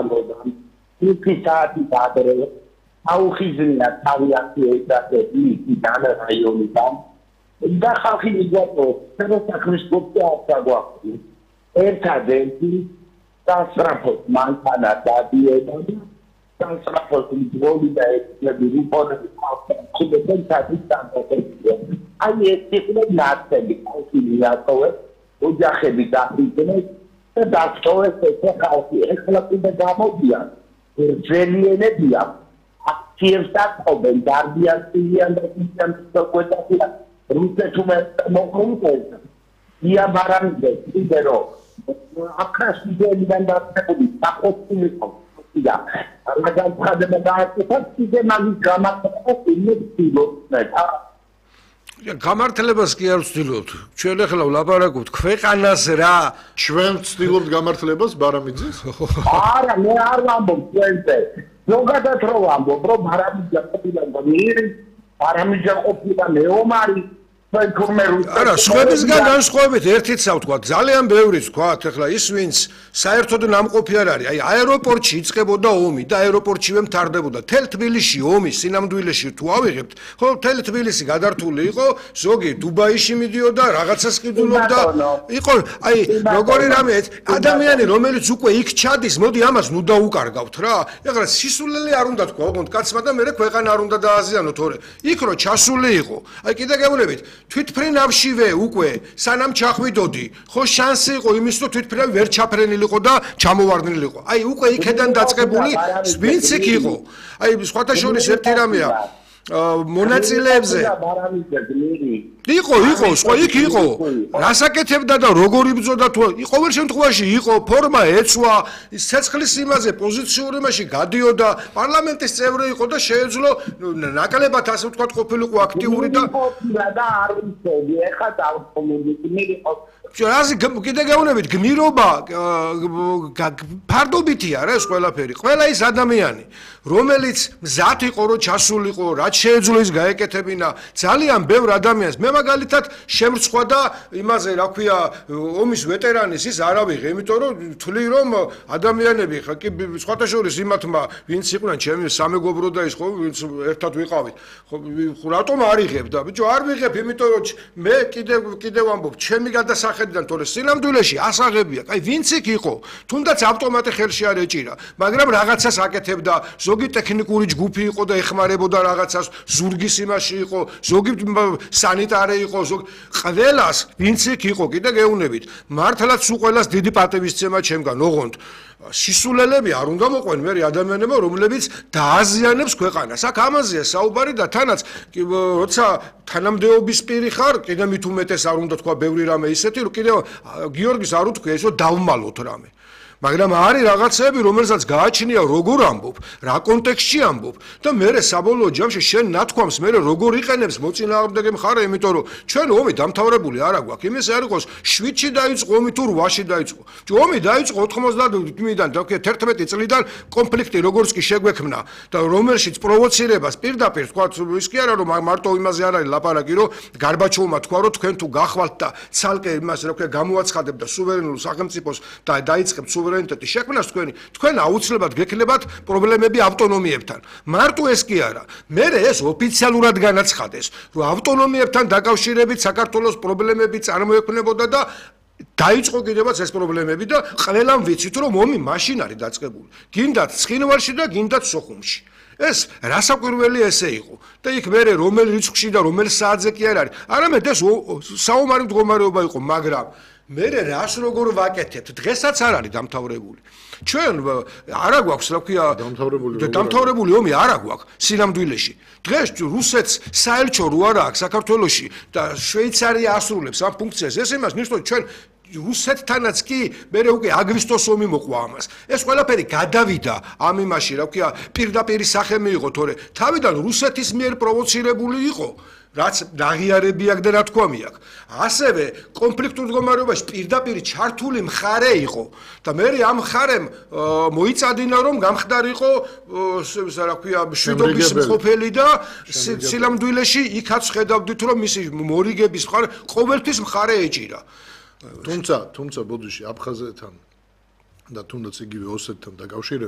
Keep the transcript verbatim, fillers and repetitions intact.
ამოდან iki საათის ადრე აუხიზნია თავი აქტიებდაზე ის დანარაიონიდან და ხალხი მიგვაწყობს სეროსახლის გუნდი აღსაგვაქვს ერთადერთი სასწრაფოს მანქანა დადიოდა და სასწრაფოს მძღოლი და ექნები რუპონები ხალხი საათის დამტკიცდა აი ეს იყო ნაცები ხალხი მიაწოვეს ოჯახები დაფიდნენ და დაწოვეს ეს ხალხი ეხლა კიდე გამოდიან ძველიანებია აქციებს დაწყობენ დარბიან სილიან და ისამ სოკვეთახია რუსეთუმე მოხუნკეს ია მარამიდე კიდე რო აკრასიდენიდან დაწებული საყოწილი ყო და რაგან ხდება დააწესა კიდე მაგის გამართება იმედი გამართლებას კი არ ვცდილობთ. ჩვენ ახლა ვლაპარაკობთ ქვეყანას რა. ჩვენ ვცდილობთ გამართლებას ბარამიძის? არა, მე არ ვამბობ ჩვენზე. ზოგადად რო ვამბობ, რომ ბარამიძე ყოფილა გმირი, ბარამიძე ყოფილა მეომარი, ჩვენ თურმერულ. არა, სხვებისგან განსხვავებით ერთიც ავთქვა, ძალიან ბევრიც ვთქვათ, ახლა ის ვინც საერთოდ ნამყოფი არ არის, აი აეროპორტში იწყებოდა ომი და აეროპორტშივე მთავრდებოდა. თელ თბილისში ომი სინამდვილეში თუ ავიღებთ, ხო, თელ თბილისი გადართული იყო, ზოგი დუბაიში მიდიოდა, რაღაცას ყიდულობდა. იყო, აი, როგორი რამე, ადამიანი, რომელიც უკვე იქ ჩადის, მოდი ამას ნუ დაუკარგავთ რა. ეხლა სისულელი არ უნდა თქვა, ოღონდ კაცმა და მე ქვეყანა არ უნდა დააზიანო, თორე იქ რო ჩასული იყო. აი, კიდე გეუბნებით, თვითფრინავშივე უკვე სანამ ჩახვიდოდი, ხო შანსი იყო იმის რომ თვითფრინავი ვერ ჩაფრენილიყო და ჩამოვარდნილიყო. აი უკვე იქიდან დაწყებული ვინც იქ იყო. აი სხვათა შორის ერთი რამეა მონაწილეებზე იყო იყო სხვა იქ იყო რასაკეთებდა და როგორ იბრძოდა თუ ყოველ შემთხვევაში იყო ფორმა ეცვა ცეცხლის იმაზე პოზიციური მასში გადიოდა პარლამენტის წევრი იყო და შეეძლო ნაკლებად ასე ვთქვათ ყოფილიყო აქტიური და და არ ვიცოდი ეხა დავწმუნდი იყო რაზი კიდე გეუბნებით გმირობა ფარდობითია რა ეს ყველაფერი ყველა ის ადამიანი რომელიც მზად იყო რომ ჩასულიყო რაც შეეძლო ის გაეკეთებინა ძალიან ბევრ ადამიანს მე მაგალითად შემრცხვა და იმაზე რა ქვია ომის ვეტერანის ის არ ავიღე იმიტომ რომ თვლი რომ ადამიანები ხა კი სხვათა შორის იმათმა ვინც იყვნენ ჩემი სამეგობრო და ის ხო ვინც ერთად ვიყავით ხო რატომ არ იღებ და ბიჭო არ ვიღებ იმიტომ რომ მე კიდე კიდე ვამბობ ჩემი გადასახედიდან თორე სინამდვილეში ასაღებია აი ვინც იქ იყო თუნდაც ავტომატი ხელში არ ეჭირა მაგრამ რაღაცას აკეთებდა ზოგი ტექნიკური ჯგუფი იყო და ეხმარებოდა რაღაცას ზურგის იმაში იყო ზოგი სანიტარი იყო ზოგი ყველას ვინც იქ იყო კიდე გეუბნებით მართლაც სულ ყველას დიდი პატივისცემა ჩემგან ოღონდ სისულელები არ უნდა მოყვენ მე ადამიანებმა რომლებიც დააზიანებს ქვეყანას აქ ამაზეა საუბარი და თანაც როცა თანამდებობის პირი ხარ კიდე მით უმეტეს არ უნდა თქვა ბევრი რამე ისეთი რომ კიდე გიორგის არ უთქვია ეს რომ დავმალოთ რამე მაგრამ არის რაღაცები რომელსაც გააჩნია როგორ ამბობ რა კონტექსტში ამბობ და მე საბოლოო ჯამში შენ ნათქვამს მე როგორ იყენებს მოწინააღმდეგე მხარე იმიტომ რომ ჩვენ ომი დამთავრებული არ აქვს იმის არ იყოს შვიდში დაიწყო ომი თუ რვაში დაიწყო ომი დაიწყო ოთხმოცდაათიდან და თერთმეტი წლიდან კონფლიქტი როგორც კი შეგვექმნა და რომელშიც პროვოცირებას პირდაპირ თქვა ის კი არა რომ მარტო იმაზე არ არის ლაპარაკი რომ გარბაჩოვმა თქვა რომ თქვენ თუ გახვალთ და ცალკე იმას რა ქვია გამოაცხადებდა სუვერენულ სახელმწიფოს და დაიწყებთ სუვერენიტეტის შექმნას თქვენი თქვენ აუცილებლად გექნებათ პრობლემები ავტონომიებთან მარტო ეს კი არა მე ეს ოფიციალურად განაცხადეს რომ ავტონომიებთან დაკავშირებით საქართველოს პრობლემები წარმოექმნებოდა და დაიწყო კიდევაც ეს პრობლემები და ყველამ ვიცით რომ ომი მაშინ არის დაწყებული გინდათ ცხინვალში და გინდათ სოხუმში ეს რასაკვირველი ესე იყო და იქ მე რომელ რიცხვში და რომელ საათზე კი არ არის არამედ ეს საომარი მდგომარეობა იყო მაგრამ მე რას როგორ ვაკეთებთ დღესაც არ არის დამთავრებული ჩვენ არა გვაქვს რა ქვია დამთავრებული დამთავრებული ომი არა გვაქვს სინამდვილეში დღეს რუსეთს საელჩო რო არა აქვს საქართველოში და შვეიცარია ასრულებს ამ ფუნქციას ეს იმას ნიშნავს ჩვენ რუსეთთანაც კი მე უკვე აგვისტოს ომი მოყვა ამას ეს ყველაფერი გადავიდა ამ იმაში რა ქვია პირდაპირ სახე მიიღო თორე თავიდან რუსეთის მიერ პროვოცირებული იყო რაც დაღიარები აქვს და რა თქვამი აქვს. ასევე კონფლიქტურ მდგომარეობაში პირდაპირ ჩართული მხარე იყო და მე ამ მხარემ მოიწადინა რომ გამხდარიყო რა ქვია მშვიდობის მყოფელი და სილამდვილეში იქაც ხედავდით რომ მისი მორიგების მხარე ყოველთვის მხარე ეჭირა. თუმცა თუმცა ბოდიში აფხაზეთთან და თუნდაც იგივე ოსეთთან დაკავშირებით